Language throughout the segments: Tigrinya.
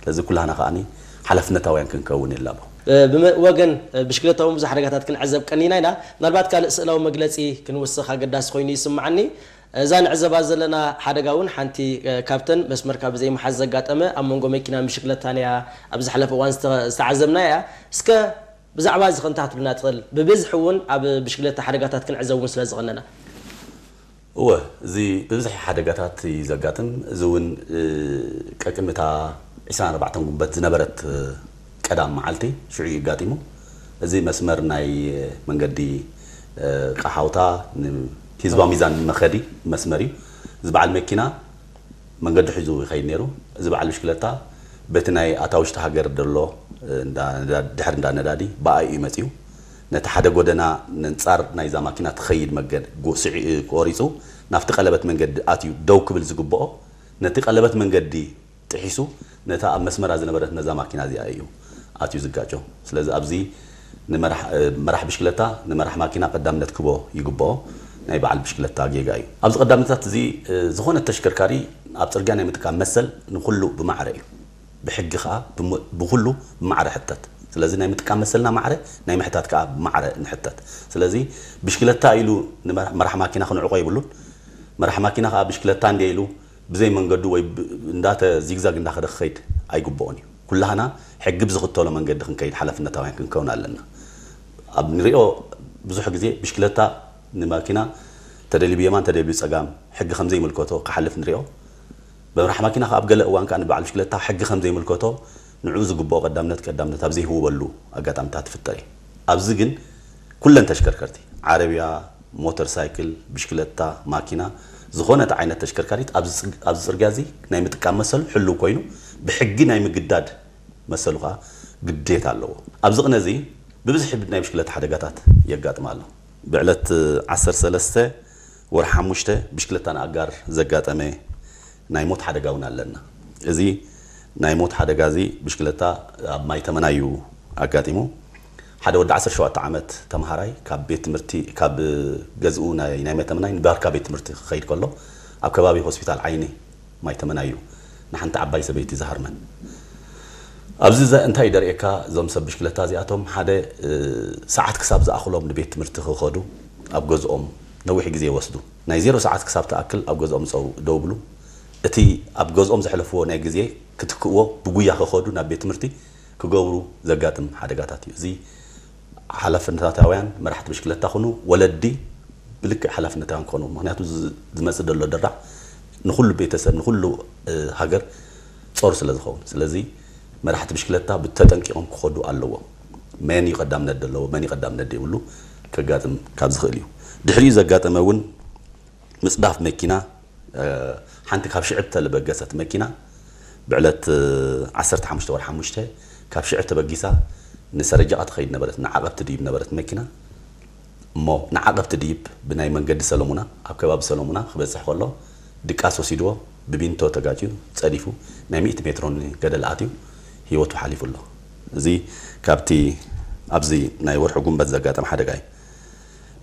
ስለዚ ኩላህና ከዓኒ ሓላፍነታውያን ክንከውን ይላቦ። ብወገን ብሽክለታ እውን ብዙሕ ሓደጋታት ክንዕዘብ ቀኒና ኢና። ምናልባት ካልእ ስእላዊ መግለፂ ክንውስኽ ኣገዳሲ ኮይኑ ይስምዓኒ። እዛ ንዕዘባ ዘለና ሓደጋ እውን ሓንቲ ካብተን መስመርካ ብዘይምሓዝ ዘጋጠመ ኣብ መንጎ መኪናን ብሽክለታን እያ ኣብ ዝሓለፈ እዋን ዝተዓዘብና እያ። እስከ ብዛዕባ እዚ ክንታትብልና ትኽእል? ብብዝሒ እውን ኣብ ብሽክለታ ሓደጋታት ክንዕዘብ እውን ስለ ዝቐነና። እወ፣ እዚ ብብዝሒ ሓደጋታት እዩ ዘጋጥም። እዚ እውን ቀቅምታ ዕስራን ኣርባዕተን ጉንበት ዝነበረት ቀዳም መዓልቲ ሽዑ እዩ ኣጋጢሙ። እዚ መስመር ናይ መንገዲ ቃሓውታ ንህዝባዊ ሚዛን መኸዲ መስመር እዩ። እዚ በዓል መኪና መንገዲ ሒዙ ይኸይድ ነይሩ። እዚ በዓል ብሽክለታ በቲ ናይ ኣታ ውሽጢ ሃገር ዘሎ ድሕሪ እንዳ ነዳዲ ብኣይ እዩ መፂኡ። ነቲ ሓደ ጎደና ነንፃር ናይዛ ማኪና ትኸይድ መገድ ቆሪፁ ናብቲ ቀለበት መንገዲ ኣትዩ ደው ክብል ዝግብኦ ነቲ ቀለበት መንገዲ ጥሒሱ ነታ ኣብ መስመራ ዝነበረት ነዛ ማኪና እዚኣ እዩ ኣትዩ ዝጋጮ። ስለዚ ኣብዚ መራሕ ብሽክለታ ንመራሕ ማኪና ቀዳምነት ክቦ ይግብኦ። ናይ በዓል ብሽክለታ ጌጋ እዩ። ኣብዚ ቀዳምነታት እዚ ዝኾነ ተሽከርካሪ ኣብ ፅርግያ ናይ ምጥቃም መሰል ንኩሉ ብማዕረ እዩ። ብሕጊ ከዓ ብኩሉ ብማዕረ ሕተት። ስለዚ ናይ ምጥቃም መሰልና ማዕረ ናይ ምሕታት ከዓ ብማዕረ ንሕተት። ስለዚ ብሽክለታ ኢሉ መራሕ ማኪና ክንዕቆ ይብሉን መራሕ ማኪና ከዓ ብሽክለታ እንደ ኢሉ ብዘይ መንገዱ ወይ እንዳተ ዚግዛግ እንዳኸደ ክኸይድ ኣይግብኦን እዩ። ኩላህና ሕጊ ብዝኽተሎ መንገዲ ክንከይድ ሓላፍነታውያን ክንከውን ኣለና። ኣብ ንሪኦ ብዙሕ ግዜ ብሽክለታ ንማኪና ተደልዩ ብየማን ተደልዩ ብፀጋም ሕጊ ከምዘይምልከቶ ክሓልፍ ንሪኦ። መራሕ ማኪና ከዓ ኣብ ገለ እዋን ከዓ ንበዓል ብሽክለታ ሕጊ ከምዘይምልከቶ ንዕኡ ዝግብኦ ቀዳምነት ቀዳምነት ኣብ ዘይህውበሉ ኣጋጣምታት ትፍጠር እዩ። ኣብዚ ግን ኩለን ተሽከርከርቲ ዓረብያ ሞተር ሳይክል፣ ብሽክለታ፣ ማኪና ዝኾነት ዓይነት ተሽከርካሪት ኣብዚ ፅርግያ እዚ ናይ ምጥቃም መሰሉ ሕልው ኮይኑ ብሕጊ ናይ ምግዳድ መሰሉ ከዓ ግዴታ ኣለዎ። ኣብዚ ቅነ እዚ ብብዝሒ ናይ ብሽክለታ ሓደጋታት የጋጥም ኣሎ። ብዕለት ዓሰርተ ሰለስተ ወርሒ ሓሙሽተ ብሽክለታን ኣጋር ዘጋጠመ ናይ ሞት ሓደጋ እውን ኣለና። እዚ ናይ ሞት ሓደጋ እዚ ብሽክለታ ኣብ ማይ ተመናዩ ኣጋጢሙ ሓደ ወዲ ዓሰርተ ሸውዓተ ዓመት ተምሃራይ ካብ ቤት ትምህርቲ ካብ ገዝኡ ናይ ናይ መተምናይ ንባርካ ቤት ትምህርቲ ክኸይድ ከሎ ኣብ ከባቢ ሆስፒታል ዓይኒ ማይ ተመናዩ ንሓንቲ ዓባይ ሰበይቲ ዝሃርመን። ኣብዚ እንታይ ደርእየካ እዞም ሰብ ብሽክለታ እዚኣቶም ሓደ ሰዓት ክሳብ ዝኣኽሎም ንቤት ትምህርቲ ክኸዱ ኣብ ገዝኦም ነዊሕ ግዜ ይወስዱ። ናይ ዜሮ ሰዓት ክሳብ ትኣክል ኣብ ገዝኦም ፀው ደው ብሉ። እቲ ኣብ ገዝኦም ዘሕለፍዎ ናይ ግዜ ክትክእዎ ብጉያ ክኸዱ ናብ ቤት ትምህርቲ ክገብሩ ዘጋጥም ሓደጋታት እዩ። እዚ ሓላፍነታውያን መራሕቲ ብሽክለታ ኩኑ ወለዲ ብልክዕ ሓላፍነታውያን ክኾኑ ምክንያቱ ዝመፅእ ዘሎ ድራዕ ንኩሉ ቤተሰብ ንኩሉ ሃገር ፆር ስለ ዝኸውን ስለዚ መራሕቲ ብሽክለታ ብተጠንቂቖም ክኸዱ ኣለዎም። መን እዩ ቀዳምነት ዘለዎ መን እዩ ቀዳምነት ዘይብሉ ከጋጥም ካብ ዝኽእል እዩ። ድሕሪኡ ዘጋጠመ እውን ምፅዳፍ መኪና ሓንቲ ካብ ሽዕብ ተለበገሰት መኪና ብዕለት ዓሰርተ ሓሙሽተ ወርሒ ሓሙሽተ ካብ ሽዕብ ተበጊሳ ንሰረጃቓ ትኸይድ ነበረት ንዓቐብ ትድይብ ነበረት መኪና እሞ ንዓቐብ ትድይብ ብናይ መንገዲ ሰለሙና ኣብ ከባቢ ሰለሙና ክበፅሕ ከሎ ድቃስ ወሲድዎ ብቢንቶ ተጋጭዩ ፀዲፉ ናይ ሚእቲ ሜትሮ ገደል ኣትዩ ህይወቱ ሓሊፉ ኣሎ። እዚ ካብቲ ኣብዚ ናይ ወርሒ ጉንበት ዘጋጠመ ሓደጋ እዩ።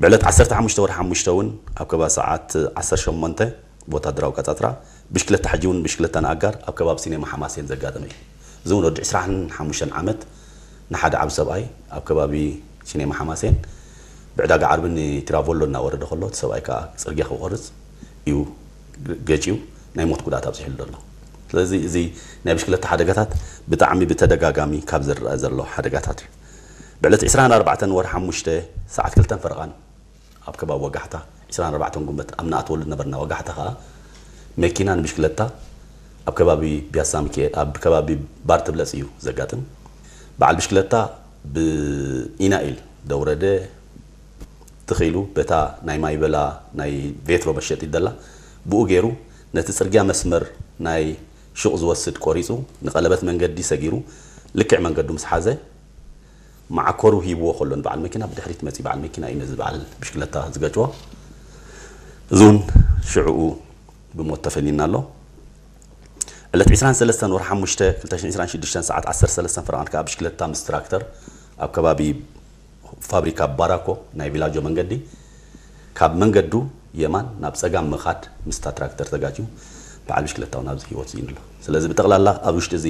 ብዕለት ዓሰርተ ሓሙሽተ ወርሒ ሓሙሽተ እውን ኣብ ከባቢ ሰዓት ዓሰርተ ሸሞንተ ብወታደራዊ ቀፃፅራ ብሽክለታ ሕጂ እውን ብሽክለታ ንኣጋር ኣብ ከባቢ ሲኔማ ሓማሴን ዘጋጠመ እዩ። እዚ እውን ወዲ ዕስራን ሓሙሽተን ዓመት ንሓደ ዓብ ሰብኣይ ኣብ ከባቢ ሲኔማ ሓማሴን ብዕዳጋ ዓርቢ ንቲራቮሎ እናወረደ ከሎ እቲ ሰብኣይ ከዓ ፅርግያ ክቆርፅ እዩ ገጭዩ ናይ ሞት ጉድኣት ኣብፂሕሉ ዘሎ። ስለዚ እዚ ናይ ብሽክለታ ሓደጋታት ብጣዕሚ ብተደጋጋሚ ካብ ዝረአ ዘሎ ሓደጋታት እዩ። ብዕለት ዕስራን ኣርባዕተን ወርሒ ሓሙሽተ ሰዓት ክልተን ፈረቓን ኣብ ከባቢ ወጋሕታ ዕስራን ኣርባዕተን ጉንበት ኣብ ንኣትወሉ ዝነበርና ወጋሕታ ከዓ መኪና ንብሽክለታ ኣብ ከባቢ ቢያሳ ሚካኤል ኣብ ከባቢ ባር ትብለፅ እዩ ዘጋጥም። በዓል ብሽክለታ ብኢናኢል ደውረደ ትኺሉ በታ ናይ ማይበላ ናይ ቬትሮ መሸጢት ደላ ብኡ ገይሩ ነቲ ፅርግያ መስመር ናይ ሹቕ ዝወስድ ቆሪፁ ንቐለበት መንገዲ ሰጊሩ ልክዕ መንገዱ ምስ ሓዘ መዓኮሩ ሂብዎ ከሎ ንበዓል መኪና ብድሕሪት መፂ በዓል መኪና እዩ ነዚ በዓል ብሽክለታ ዝገጭዎ። እዚ እውን ሽዕኡ ብሞት ተፈሊና ኣሎ። ዕለት ዕስራን ሰለስተን ወርሒ ሓሙሽተ ክልተ ሽሕን ዕስራን ሽዱሽተን ሰዓት ዓሰርተ ሰለስተን ፈረቓን ከዓ ብሽክለታ ምስ ትራክተር ኣብ ከባቢ ፋብሪካ ባራኮ ናይ ቪላጆ መንገዲ ካብ መንገዱ የማን ናብ ፀጋም ምኻድ ምስታ ትራክተር ተጋጭዩ በዓል ብሽክለታ እውን ኣብዚ ህይወት ስኢኑ ኣሎ። ስለዚ ብጠቕላላ ኣብ ውሽጢ እዚ